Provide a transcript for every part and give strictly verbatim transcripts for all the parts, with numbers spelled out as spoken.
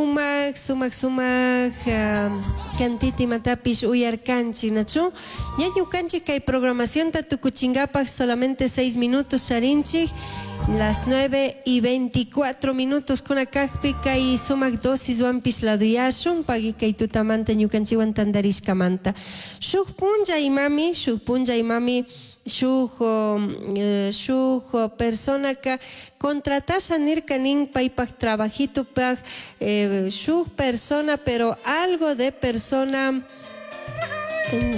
Sumak, sumak, sumak cantita imatapish uyarkanchik, nachu? Ña ñukanchik kay programacionta tukuchinkapaj solamente seis minutos charinchik, las nueve y veinticuatro minutos kuna kakpi kay sumak dosiswanpish laduyashun, pagui kay tutamanta ñukanchikwan tantarishkamanta. Shuk punlla imami, shuk punlla imami, shuk, eh, shuk personaka contratasha nirka nin paypak trabajitopaj, eh, shuk persona, pero algo de persona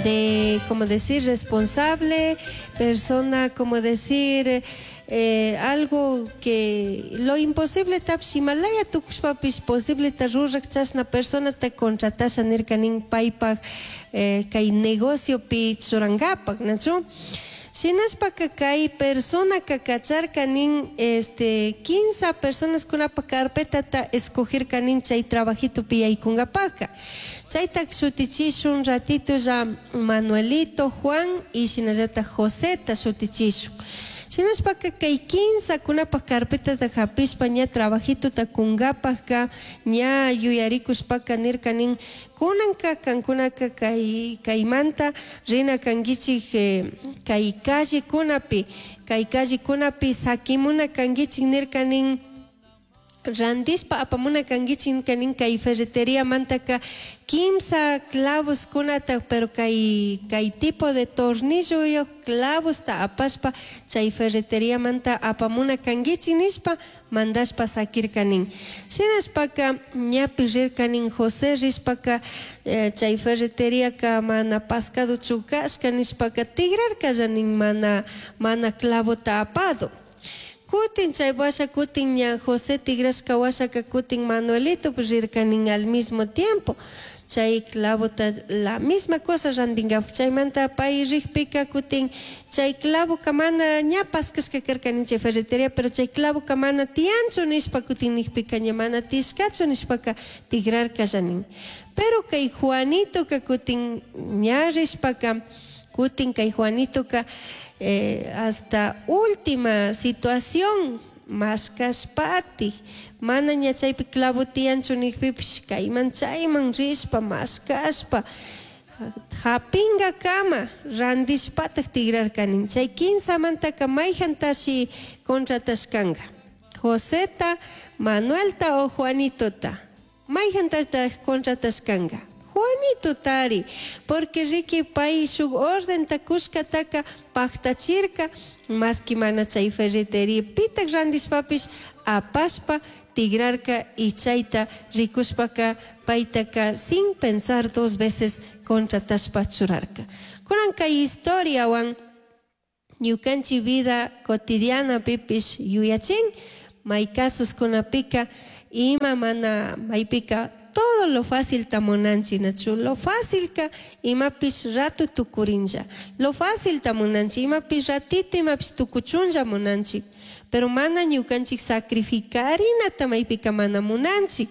de, como decir, responsable, persona, como decir, eh, algo que lo imposible tapsh Himalaya tukushpapish posible ta rurak chashna persona ta contratasha nirka nin paypak, eh, kay negociopi churankapak, nachu? Shinashpaka kay personaka kacharka nin, este, quince personas kunapa carpetata escogerka nin chay trabajitopi yaykunkapaka. Chayta shutichishun ratito ya Manuelito, Juan y shinallata Joseta shutichishun. Shinashpaka kay quince kunapa carpetata hapishpa ña trabajitota kunkapaka ña yuyarikushpaka nirka nin kunanka kankunaka kay, kaymanta rina kankichik, eh, kay callekunapi, kay callekunapi sakimuna kankichik nirka nin randishpa apamuna kankichik nirka nin kay ferreteria mantaka kimsa clavos kunata, pero kay, kay tipo de tornillo yo clavos ta apashpa chay ferreteria manta apamuna kankichik nishpa mandashpa sakirka nin. Shinashpaka ñapi rirka nin José rishpaka, eh, chay ferreteria ka mana pascado chukashka nishpaka tigrarka ya nin mana, mana clavo ta apado. Kutin chay washa kutin ña José tigrashka washaka kutin Manuelito pues rirka nin al mismo tiempo. Chay clavota la misma cosa randingap chaymanta pay rikpika kutin chay clavo kamana ña paskashka karka nin chay ferreteria, pero chay clavo kamana tianchu nishpa kutin nikpika ña mana tishkachu nishpaka tigrarka llanin. Pero kay Juanito ka kutin ña rishpaka kutin kay Juanito ka, eh, hasta última situación mashkashpati mana ña chaypi clavo tiyanchu nikpipish kayman chayman rishpa mashkashpa hapingakama randishpatak tigrarkanin. Chay quinsamantaka mayjantashi contratashkanka Joseta, Manuelta o Juanitota, mayjantataj contratashkanka Juanito tari, porque riki pay shuk orden takushkataka paktachirka, maski mana chay ferreteria pitak randishpapish apashpa tigrarka y chayta rikushpaka paytaka sin pensar dos veces contratashpa churarka. Kunan kay historiawan ñukanchik vida cotidiana pipish yuyachin, may casos kunapika ima mana maypika todo lo fácil tamunanchi, nachu? Lo fácil ka imapish rato tukurinlla. Lo fácil tamunanchi, imapish ratito, imapish tukuchunlla munanchi. Pero mana ñukanchik sacrificarinata maypika mana munanchik.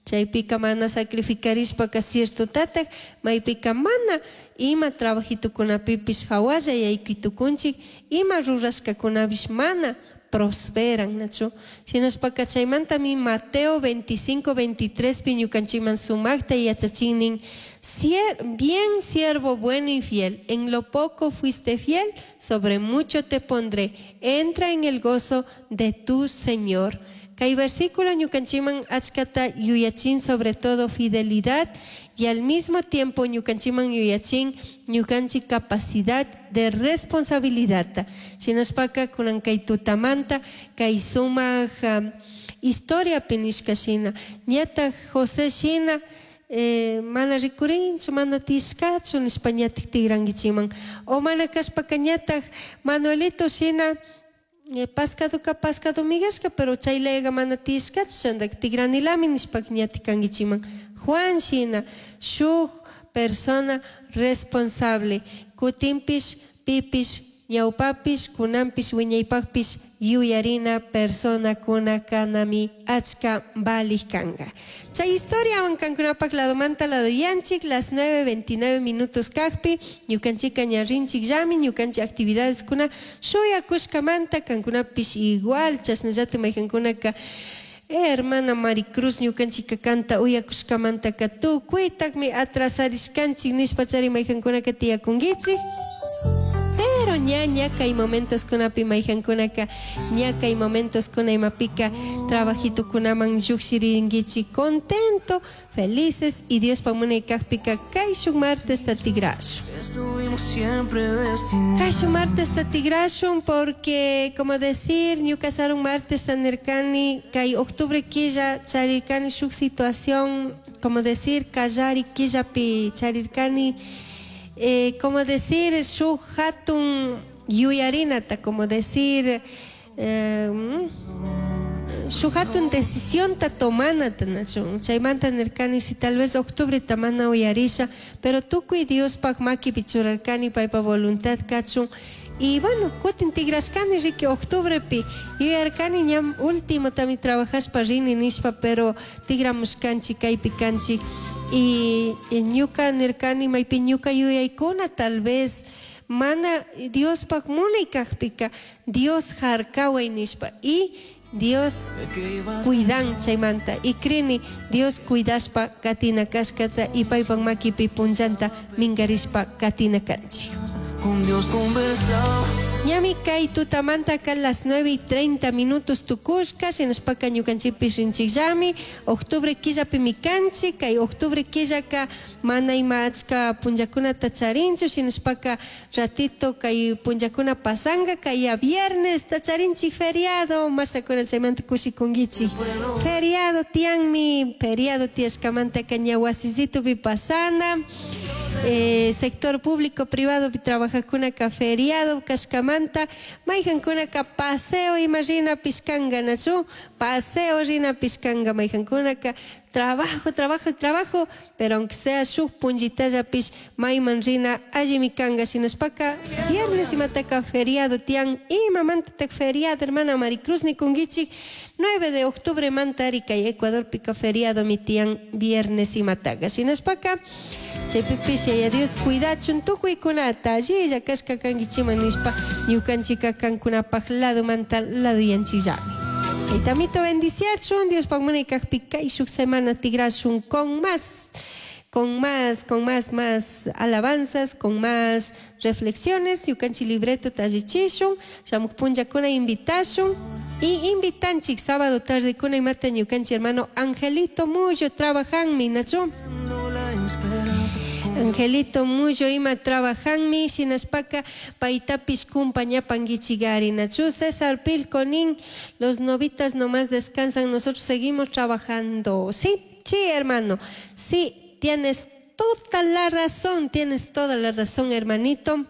Chaypika mana sacrificarishpaka cierto tatak, maypika mana ima trabajitukunapipish hawalla yaykitukunchik, ima rurashkakunapish mana prosperan, nachu? Shinashpaka chaymantami Mateo veinticinco, veintitrés pi ñukanchikman sumakta yachachinin, Sier-, bien siervo bueno y fiel, en lo poco fuiste fiel, sobre mucho te pondré, entra en el gozo de tu Señor. Kay versículo ñukanchikman achkata yuyachin sobre todo fidelidad y al mismo tiempo ñukanchikman yuyachin ñukanchik capacidad de responsabilidad. Shinashpaka kunan kay tutamanta kay sumak, um, historia pinishka shina ñataj José shina, eh, mana rikurinchu, mana tishkachu nishpa ñataj tigrankichikman. O mana kashpaka ñataj Manuelito shina, eh, pascaduka pascado migashka, pero chaylayga mana tishkachu, chandak tigranilami nishpa ñataj kankichikman. Juan shina, shuk persona responsable, kutinpish, pipish, ñawpapish, kunanpish, wiñaypakpish yuyarina persona kuna kanami achka valik kanga. Chay historia kankunapak ladomanta ladoyanchik, las nueve veintinueve minutos kakpi, ñukanchika ñarrinchik llami, ñukanchik actividades kuna shuyakushkamanta kankunapish igual, chashnallata maykankunaka, Eh, hermana Maricruz ñukanchika kanta uyakushkamantaka tukuytakmi atrasarishkanchik nishpachari maykankunaka tiyakunkichik. Pero ña ña kay momentos kunapi maykankunaka ña kay momentos kuna imapika trabajitukunaman llukshirinkichik contento, felices y Diospa munay kajpika kayshuk martesta tigrashun. Estuvimos siempre destinados. Kayshuk martesta tigrashun porque, como decir, ñuka sarun martes nirkani kay octubre killa charirkani shuk situación, como decir, kallari killapi charirkani, eh, como decir, shuk hatun yuyarinata, como decir, eh, shuk hatun decisionta tomanata nachun. Chaymanta nirkani si tal vez octubre tamana uyarisha, pero tukuy Diospaj makipi churarkani paypa voluntad kachun. Y bueno, kutin tigrashkani riki octubrepi yuyarkani ñam último tami trabajashpa rini nishpa, pero tigramushkanchik kaypi kanchik. Y, y ñuka nirkani maypi ñuka yuyaykuna tal vez mana Diospaj munay kajpika Dios harkaway nishpa y Dios cuidan chaymanta y crini Dios cuidashpa katina kashkata y paypak makipi punllanta minkarishpa katina kanchik. Con Dios conversaba. Ñami kay tutamanta ka las nueve y treinta minutos tukushka, shinashpaka ñukanchikpish rinchikllami, octubre killapimi kanchik, kay octubre killaka mana ima achka punllakunata charinchu, shinashpaka ratito kay punllakuna pasanga, kay ya viernes tacharinchik feriado, mashtakuna chaymanta kushikunkichik. Feriado tianmi, feriado tiyashkamantaka ña wasisitupi pasana. Eh, sector público privado trabajajkunaka feriado kashkamanta mayjankunaka paseo ima rina pishkanka nachu paseo rina pishkanka mayjankunaka trabajo, trabajo, trabajo, pero aunque sea shuk punllitallapish mayman rina allimi kanka shinashpaka viernes imataka feriado tian imamantatak feriado hermana Maricruz nikunkichik nueve de octubre mantari kay Ecuadorpika feriado mi tian viernes imataka shinashpaka chaypipish Yaya Dios cuidachun tukuykunata allilla kashka kankichiman nishpa ñukanchika kankunapaj lado manta lado yanchillami. Kaytamito bendiciachun, Diospaj munay kajpi kayshuk semana tigrashun con más, con más, con más, más alabanzas, con más reflexiones. Ñukanchik libreto tallichishun, shamuj punllakuna invitashun y invitanchik sábado tarde kuna imata ñukanchik hermano Angelito Mullo trabajanmi, nachu. Angelito Mullo ima trabajanmi, shinashpaka paytapish kumpañapankichikari, nachu. César Pilconín, los novitas nomás descansan, nosotros seguimos trabajando. Sí, sí, hermano, sí, tienes toda la razón, tienes toda la razón, hermanito.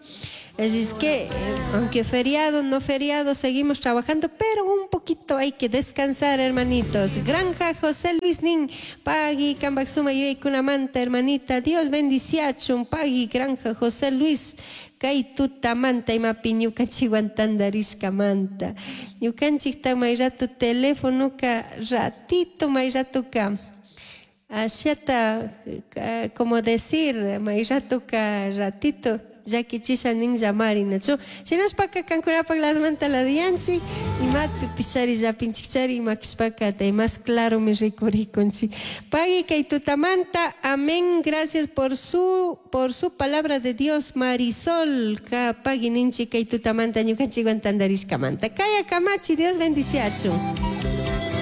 Así es que, eh, aunque feriado, no feriado, seguimos trabajando, pero un poquito hay que descansar, hermanitos. Granja José Luis Nin, Pagui, Cambaxuma, Yuekunamanta, hermanita, Dios bendiciachun, Pagui, Granja José Luis, kay tutamanta imapi ñukanchikwan tantarishkamanta. Ñukanchikta may rato telefonoka ratito may ratoka ashata, como decir, may ratoka ratito llakichisha nin llamari, nachu. Shinashpaka kankunapak ladomanta ladoyanchik, imatpi pishari llapinchikchari imakishpaka tay más claro mi rikurikunchik. Pagui kay tutamanta, amén, gracias por su, por su palabra de Dios, Marisol, ka pagui ninchik kay tutamanta ñukanchikwan tantarishkamanta. Kaya kamachi, Dios bendiciachun.